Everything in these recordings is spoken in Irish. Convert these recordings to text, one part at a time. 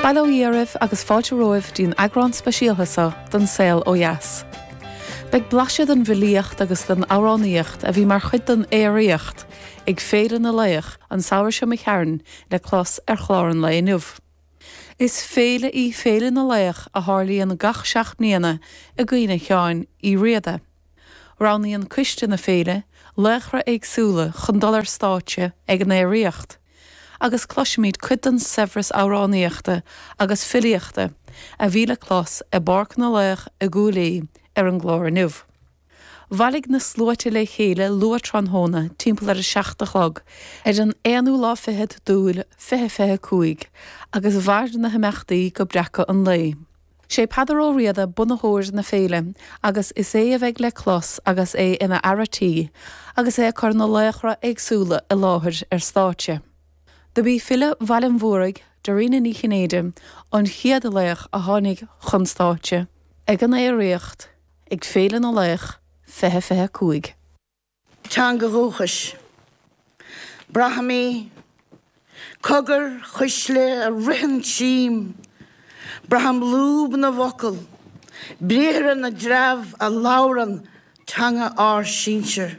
Bail ó Dhia oraibh agus fáilte romhaibh dtí'n eagrán speisialtha seo den Saol Ó Dheas. Beidh blaiseadh den bhfilíocht agus den amhránaíocht a bhí mar chuid den aeraíocht ag Féile na Laoch an samhradh seo imigh tharainn le clos ar chlár an lae inniu. Is féile í Féile na Laoch a tharlaíonn gach 7 mbliana i gcuimhne Sheáin Uí Riada. Roghnaíonn coiste na féile laochra éagsúla chun dul ar stáitse ag an aeraíocht, agus cloisfimid cuid den saibhreas amhránaíochta agus filíochta a bhí le clos i bPáirc na Laoch i gCúil Aodha ar an gclár inniu. Bhailigh na sluaite le chéile luath tráthnóna timpeall ar a 7 a chlog ar an aonú lá fichead d'Iúil 2025 agus mhair na himeachtaí go breacadh an lae. Sé Peadar Ó Riada bunaitheoir na féile agus is é a bheidh le clos agus é ina fhear a' tí agus é ag cur na laochra éagsúla i láthair ar stáitse. Dob í file Bhaile an Mhúraigh, Dairena Ní Chinnéide, an chéad laoch a tháinig chun stáitse ag an aeraíocht ag Féile na Laoch 2025. Teanga dhúchais. Braithim í. Cogar cuisle a ritheann tríom. Braithim lúb na bhfocal, briathra na dtreabh a labhrann teanga ár sinsear.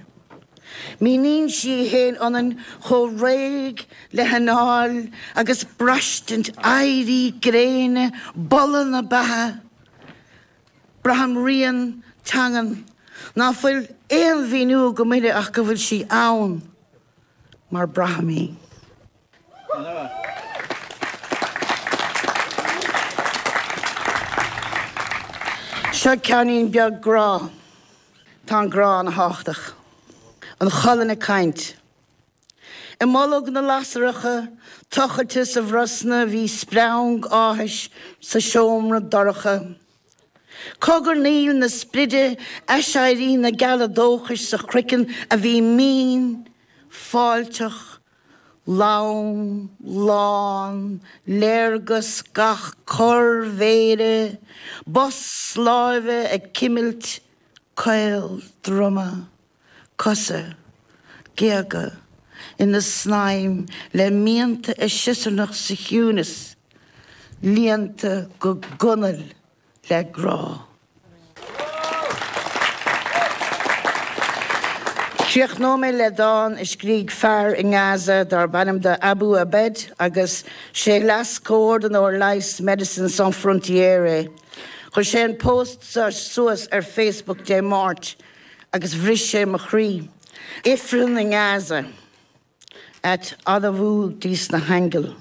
Míníonn sí í féin ionainn chomh réidh le hanáil agus braistint éirí gréine, boladh na beatha. Braithim rian teangan ná fuil aon mhíniú agam uirthi ach go bhfuil sí ann mar braithim í. Seo ceainnín beag grá. Tá an grá ana thábhachtach. An cholainn ag caint. I mbolg na lasracha tochailte sa bhrosna bhí spreang áthais sa seomra dorcha. Cogarnaíl na spride, aiséirí na geala dóchais sa chroiceann a bhí mín, fáilteach, lom, lán, léargas gach corr mhéire, bos láimhe ag cimilt caol droma. cosa, géaga, ina snaidhm le mianta a siosarnach sa chiúnas, líonta go gunail le grá. Críochnóidh mé le dán a scrígh fear i nGaza darb ainm do Abu Abed agus sé leas-chomhordaitheoir leighis Médecins Sans Frontières é. Chuir sé an post seo suas ar Facebook Dé Máirt. agus bhris sé mo chroí. Ifreann i nGaza, at admhú dies na haingil.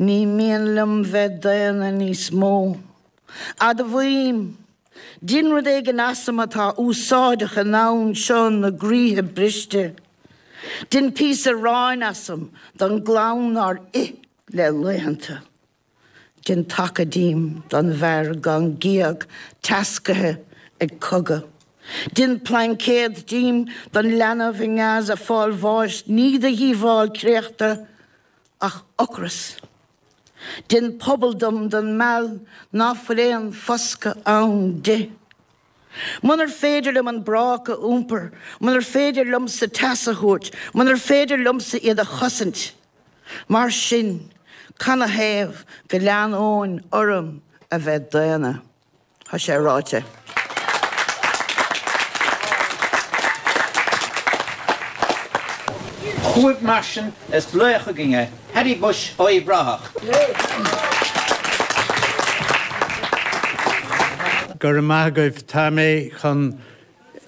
Ní mian liom bheith daonna níos mó. Admhaím, dein rud éigin asam atá úsáideach i ndomhan seo na gcroíthe briste. Dein píosa aráin asam don gclann nár ith le laethanta. Dein taca díom don bhfear gan gíog teascaithe ag cogadh. Dein plaincéad díom don leanbh i nGaza fáil bháis ní de dhíobháil créachta ach ocras. Dein puball dom don meall ná fuil aon foscadh ann di. Munar féidir liom an bráca a iompar, munar féidir liomsa teas a thabhairt, munar féidir liomsa iad a chosaint, mar sin, canathaobh go leanóinn orm a bheith daonna? Tá sé ráite. Chugaibh mar sin is laoch againn é, Paddy Bushe ó Uíbh Ráthach. Go raibh maith agaibh. Tá mé chun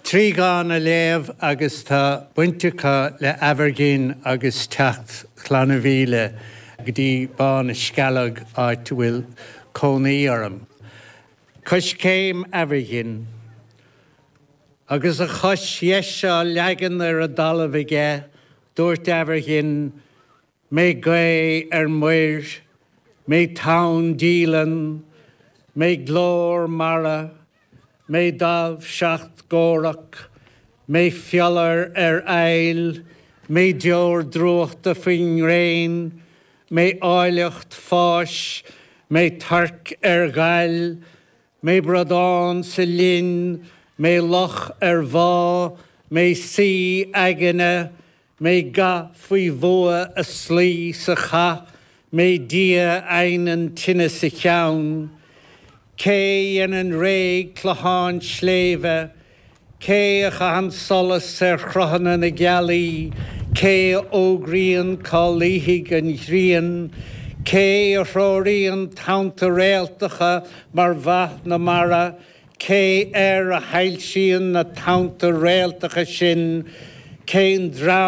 3 dhán a léamh agus tá baint acu le Aimhirghin agus teacht Chlanna Mhíle go dtí Bá na Scealg, áit a bhfuil cónaí orm. Coiscéim Aimhirghin. Agus a chois dheis á leagan ar an dtalamh aige, dúirt Aimhirghin, Mé gaoth ar muir, mé tonn díleann, mé glór mara, mé damh 7 gcomhrac, mé fiolar ar aill, mé deor drúchta faoin ngréin, mé áilleacht fáis, mé toirc ar ghail, Mé bradán sa linn, mé loch ar bhá, mé saoi aigne, mé ga faoi bhua a sloí sa chath, Mé Dia a adhnann tine sa cheann? Cé a dhéanann réidh clocháin sléibhe? Cé a chaitheann solas ar chruthanna na gealaí? Cé a fhógraíonn cá luífidh an ghrian? Cé a threoraíonn tonnta réaltacha mar mhaith na mara? Cé air a shoilsíonn na tonnta réaltacha sin? Cén dream?